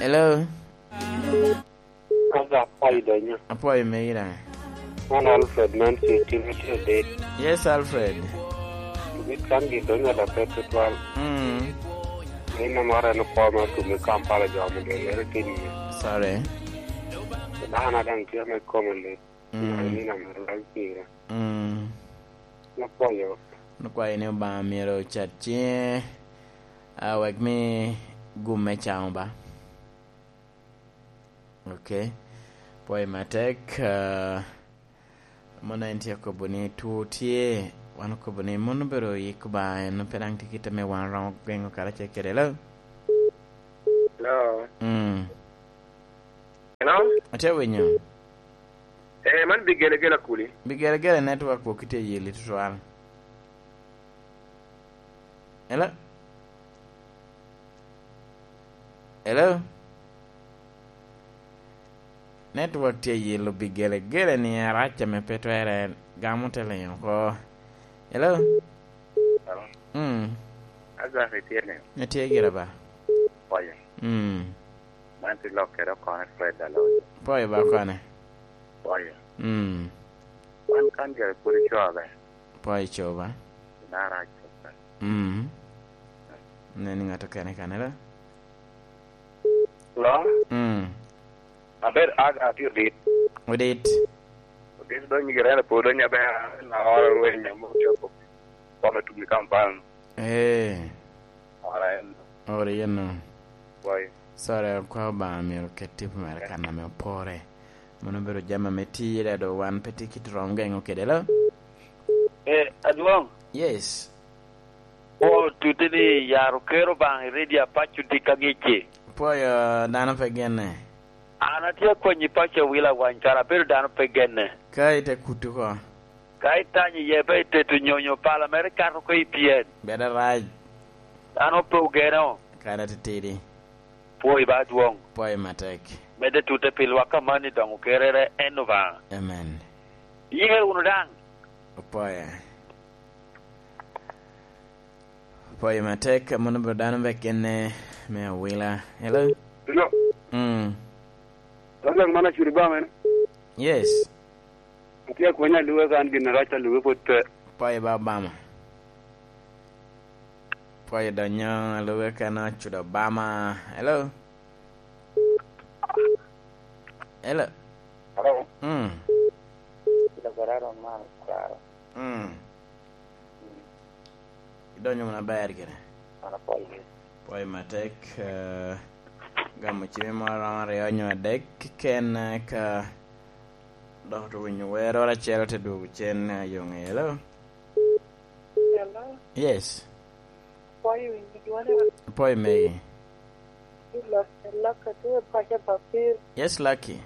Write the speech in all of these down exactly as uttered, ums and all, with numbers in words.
Hello? Aga, apwoyo donyo. Apwoyo megi daŋ. Man Alfred man tye Timothy Odit. Yes, Alfred. Bit kan gi donyo da pe tutwal. Mm. Ni na mara en okwo ma tumi Kampala jo ame dong lere tini. Sorry. Dano daŋ tye me kome lit. Mm. Ni na mara laŋ pire. Mm. Apwoyo. Nokwayo ni Obaŋa myero ocat ciŋe, ah, wek mi gum me caŋo ba. Ok. Pwoyo matek, ah, mon en tye akobo ni two tye, wan okobo ni mon obedo oyik Obaŋa, en pe daŋ tye kite me wan romo gweŋo karacel kede. Hello? Hello? Mm. Hello? Atye winyo. Eh, man Bigelegele Akuli. Bigelegele network pwok kitye yeli tutwal. Hello? Hello? Network tye yelo Bigelegele ni arac ame pe twere gamo te liny oko. Hello? Hello? Mm. Azak itye ni? Itye gira ba? Pwoyo. Mm. Man tye lok kede okone Fred Alonzo. Pwoyo ba okone. Pwoyo. Mm. Wan kan gire pwod ico abe. Pwoyo ico ba? Inara ico ba? Mm. Nen ni ŋat okene kane la? Hello? Mm. Aber ag atye odit. Odit. Odit donyo gire en pwod donyo aber na oro rweny amo copo. Kome tumi Kampala. Eh. Ora en. Ora yen no. Wai. Sorry, kwa Obaŋa myero oket tipo mere kan ame opore. Mano obedo jami ame tye, dado wan pe tye kit rom geŋo kede lo. Eh, adwoŋ. Yes. O, tute ni yaro kero Obaŋa i redio apaco dik aŋicci. Pwoyo dano pe genne. An atye akwanyi paco i wil awany kara abedo dano pe genne. Ka ite kuto oko. Ka itanyo iye pe iteto nyonyo pala mere kato oko i pyen. Bedo arac. Dano pe ogeno. Kara titidi. Pwoyi ba adwoŋ. Pwoyi matek. Medde tute pi lwak amanni doŋ okerere en Obaŋa. Amen. Iyee wunu daŋ. Opwoye. Pwoyo matek, amono bro dano be kene me awila. Hello? Hello? Mm. Hello, man Acuri ba mene? Yes. Atye akwenya luwe kan gin arac a luwe pwod pe. Pwoyo ba Obama. Pwoyo donyo luwe kan Acuri Obama. Hello? Hello? Hello? Mm. Kila gwara ron man, kwaro. Mm. Idonyo wunu aber gire. An apwoyo. Pwoyo matek, eh, gamo cime moro romo aryo nyo adek keken, eh, ka dok owinyo wer oro acel te dwogo cen, eh, yo ŋe. Hello? Hello? Yes. Apwoyo winyo dwone. Apwoyo megi. Lucky, Lucky, tye paco Bapil. Yes, Lucky.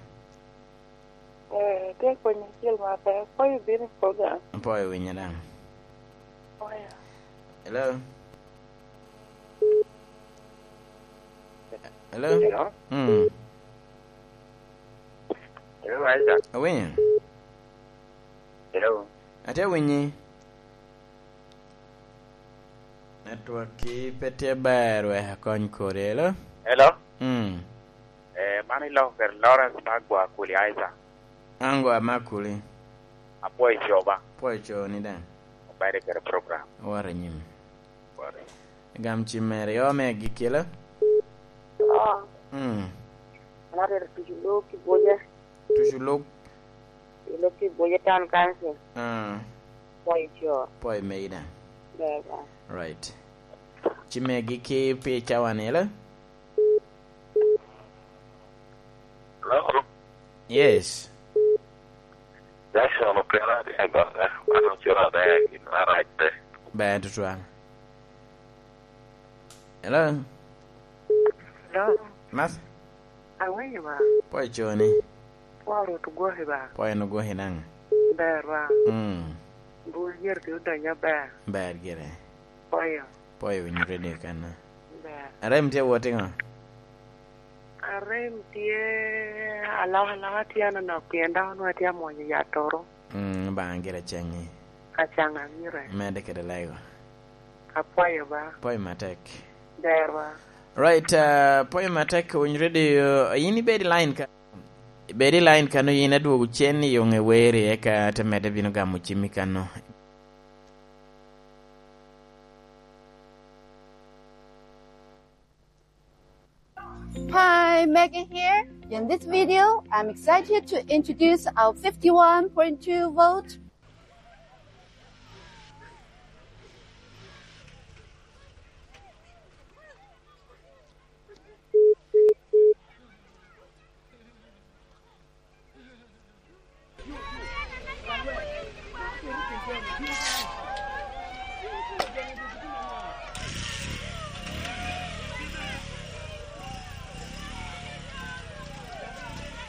Eh, tye konyo acel ma pe. Apwoyo bino i program. Apwoyo winyo daŋ. Apwoyo. Hello? Hello? Hello? Mm. Hello, Isaac. Awinyo. Hello? Atye awinyi. Network-ki pe tye ber, wek akony kodi. Hello? Hello? Mm. Eh, man iloko kede Lawrence me Agwa Kuli, Isaac. An Agwa me Akuli. Apwoyo coba. Apwoyo coni daŋ. Obede kede program. Awoto anyim. Awoto anyim. Gam cim mere, i ome agikki, hello? Oh. Mm. An atito tic i Lok Kibuca. Tic i Lok? I Lok Kibuca Town Council. Ah. Pwoyo co. Pwoyo megi daŋ. Ber, ber. Right. Cim mere agikki pi cawa ni, hello? Hello? Yes. Jackson Opera tye i goga, man ocura aber, gin arac pe. Ber tutwal. Hello? Hello? Mas? Awinyo ba? Pwoyo coni. Pwoyo Rwot ogwoki ba? Pwoyo en ogwoki daŋ. Ber ba? Mm. Bul yero ki odonyo aber. Ber gire. Pwoyo. Pwoyo winyo redio kanna. Ber. Arem tye wot iŋo? Arem tye alokaloka tye anonok pien dok onwongo atye amwonyo yat oro. Mm, Obaŋa gire ceŋi. Acaŋa gire. Medde kede lego. Apwoyo ba. Pwoyo matek. Ber ba. Right, uh, poem atek Winy Radio, in ibed i line ka. Ibed i line kano, in adwogo cen i yoŋe weri, eka te medde bino gamo cimmi kano. Hi, Megan here. In this video, I'm excited to introduce our fifty-one point two volt.